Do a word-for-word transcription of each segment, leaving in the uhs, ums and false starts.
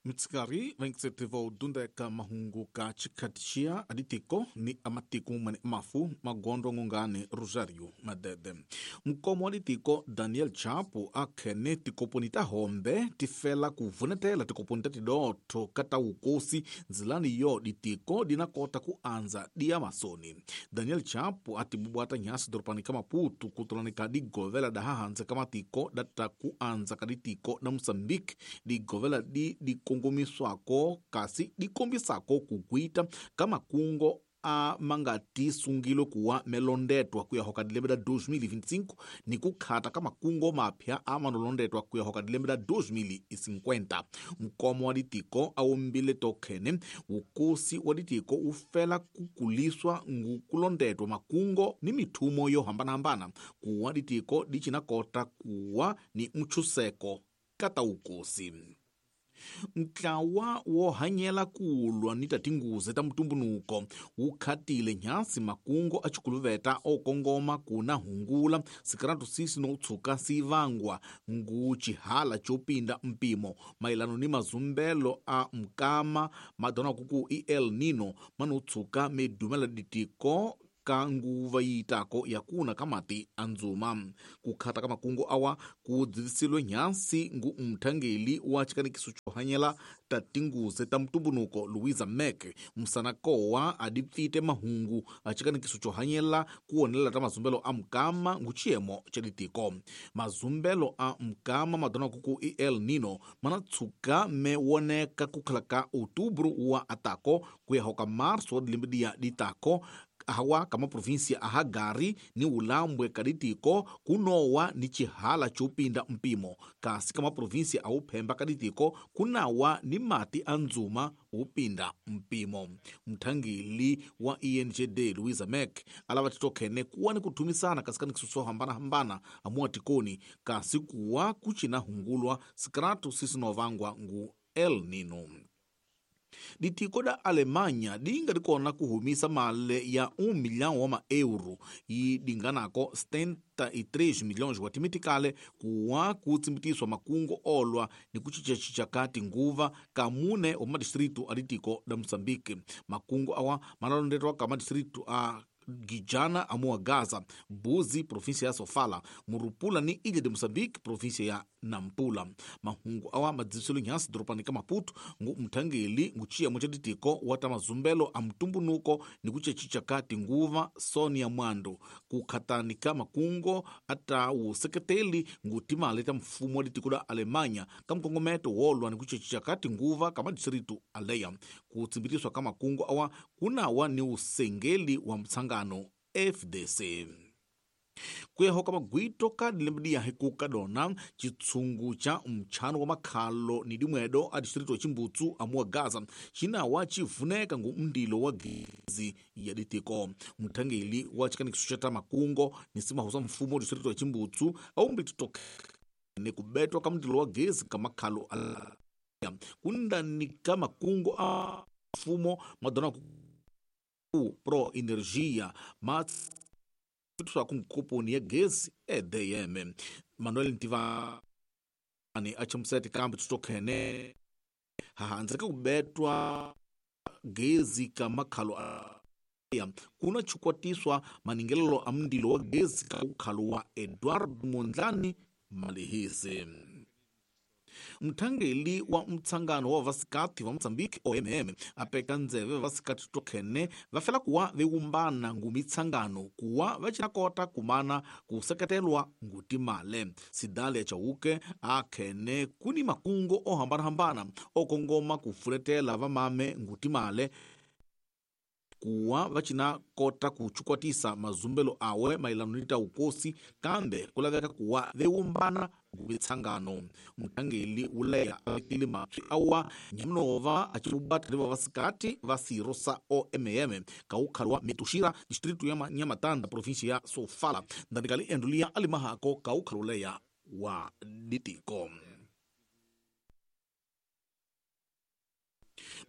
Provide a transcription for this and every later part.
Mitsikari vainkisetiva dundeka mahungu ka chikhatixia aditiko ni amatiko mane mafu magondo ngungani Rosario Madede. Mkomo wa ditiko Daniel Chapo akhene tikoponi ta hombe tifela kuvunetela tikoponi ta tidotho kata ukosi nzilani yo ditiko dinakota kuanza dia masoni. Daniel Chapo atibubwata nyasi doropani ka Maputo kutolani ka digovela da hahanze ka matiko data kuanza ka ditiko na Mozambique digovela di dikongomiswako kasi dikombisako kukwita ka makungo a mangati sungilo kuwa melondetwa kuya hoka dilembe da dois mil e vinte e cinco ni kukhata ka makungo mapya a manolondetwa kuya hoka dilembe da dois mil e cinquenta. Mkomo wa ditiko awombile tokhene ukosi wa ditiko ufela kukuliswa ngukulondetwa makungo ni mithumo yo hambanahambana kuwa ditiko dichinakota kuwa ni mchuseko kata ukosi. Ntlawa wo hanyela kulwa ni tatinguze ta mutumbunuko wu khatile nyasi makungo a chikuluveta o kongoma kuna hungula sikaratu sisi no tshuka sivangwa ngu chihala chopinda mpimo mailano ni mazumbelo a mkama madona kuku i El Nino mano tshuka medumela ditiko ka nguva yitako yakuna kamati anzuma. Kukhata ka makungu awa kudzivisilwe nyansi ngu mthangeli wa chikanikiso chohanyela tatinguze ta mutumbunuko Luisa Mek msanakowa adipfite mahungu a chikanikiso chohanyela kuonela ta mazumbelo a mkama ngu chiyemo cha ditiko. Mazumbelo a mkama madona kuku i El Nino manatsuka me woneka kukhala ka outubro wa atako kuya hoka março wa dilembe dia ditako awa kama província a Hagari ni ulambwe kaditiko kunowa ni chihala chopinda mpimo kasi kama província a uphemba kaditiko kunawa ni mati anzuma upinda mpimo. Mthangeli wa E N G D Luisa Mek alava titokhene kuwa ni kuthumisana kasi kani hambana hambana amuwa tikoni kasi kuwa kuchina hungulwa sikratu sisinovangwa ngu El Nino. Ditiko da Alemanha dinga dikona kuhumisa male ya um milhão wa euro e dinganako setenta e três milhões wa timitikale kuwa kutsimbiswa makungo olwa ni kuchichachicha kati nguva kamune wa madistrito a ditiko da Moçambique. Makungo awa manalondetwa ka madistrito a Guijana amua Gaza, Buzi, província ya Sofala, Murupula ni Ilha de Moçambique, província ya Nampula. Mahungu awa madzisilo nyasi doropani ka Maputo ngu mthangeli nguchiya mochaditiko wata mazumbelo a mtumbunuko ni kuchechicha kati nguva Sonia Mwando kukhatani ka makungo ata useketeli ngu timale ta mfumo wa ditiko da Alemanha ka mkongometo wolwa ni kuchechicha kati nguva ka madistritu aleya. Kutsimbitiswa ka makungo awa kunawa ni usengeli wa mtsanga F D C. Kuyahoka magwito ka dilembedia hikuka dona chitsungu cha mchano wa makhalo ni dimwedo a distrito ya Chimbutsu amua Gaza chinawa chivuneka ngu mndilo wa gezi ya ditiko. Mthangeli wa chikanikiso cha makungo ni simahusa mfumo wa distrito ya Chimbutsu au mbititoke ni kubetwa ka mndilo wa gezi ka makhalo ala kundani ka makungo a mfumo madona pro energia mas swa kumkoponi ya gezi E D M. Manuel Ntivani achimseti kambi tutokhene hahanzeka kubetwa gezi ka makhalo ya kuna chukwatiswa maningelelo a mndilo wa gezi ka ukhalo wa Eduardo Mondlane Malihise. Mthangeli wa mtsangano wa vasikati wa Mozambique O M M apeka ndzeve vasikati tokhene vafela kuwa veumbana ngumitsangano kuwa vachinakota kumana kuseketelwa ngutimale. Sidale Chauke akhene kuni makungo ohambanahambana okongoma kufuletela vamame ngutimale kuwa vachinakota kuchukwatisa mazumbelo awe mailano nita ukosi kambe kulaveka kuwa veumbana ngumitsangano. Mthangeli uleya avekile mapsi awa nyamnova achibubata ni vasikati va siro sa O M M kaukhalwa Metuxira distrito ya Nhamatanda província ya Sofala ndandikali endulia alimahako kaukhaluleya wa ditiko.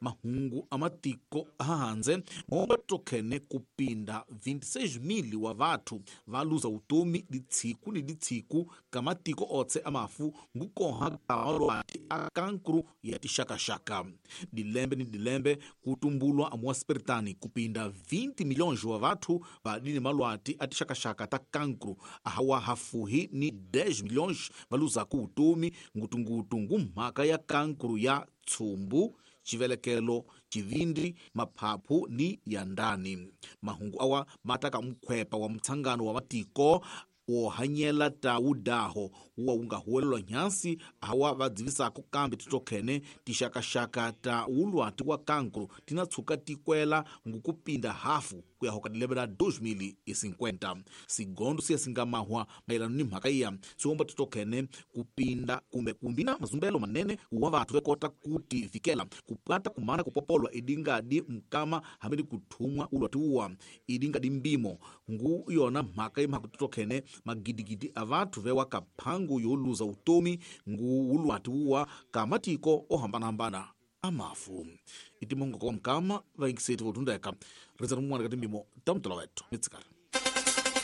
Mahungu a matiko ahandze momba tokhene kupinda vinte e seis mil wa vathu va luza utomi ditshiku ni ditshiku ka matiko otse amafu ngukoha ka malwati a kankru ya tixakaxaka. Dilembe ni dilembe kutumbulwa amuwasiperitani kupinda vinte milhões wa vathu va dini malwati a tixakaxaka ta kankru, ahawa hafuhi ni dez milhões va luzaku utomi ngutungutu ngumhaka ya kankru ya tsumbu, chivelekelo, chivindi, maphaphu ni ya ndani. Mahungu awa mataka mkhwepa wa mtshangano wa matiko wo hanyela ta wudaho wuwa wu nga huwelelwa nhansi hawa va dzivisaka kambe titokhene tixakaxaka ta wulwati wa kankru tina tshuka tikwela ngukupinda hafu ku ya hoka dilembe la dois mil e cinquenta. Sigondo siya singamahwa mayelano ni mhaka iya siwomba titokhene kupinda kumbe kumbina mazumbelo manene wa vathu vekota kutivikela kupata kumana kupopolwa idingadi mkama hambi ni kuthumwa ulwati wuwa idingadi mbimo ngu yona mhaka imhaka titokhene magidigidi a vathu vewa kaphangu yo luza utomi ngu wulwati wuwa ka matiko ohambanahambana amafu. Itimongo kwa mkama vaingiseti votundeka rizana mumwana kati mbimo ta mutolo wetu mitsikari.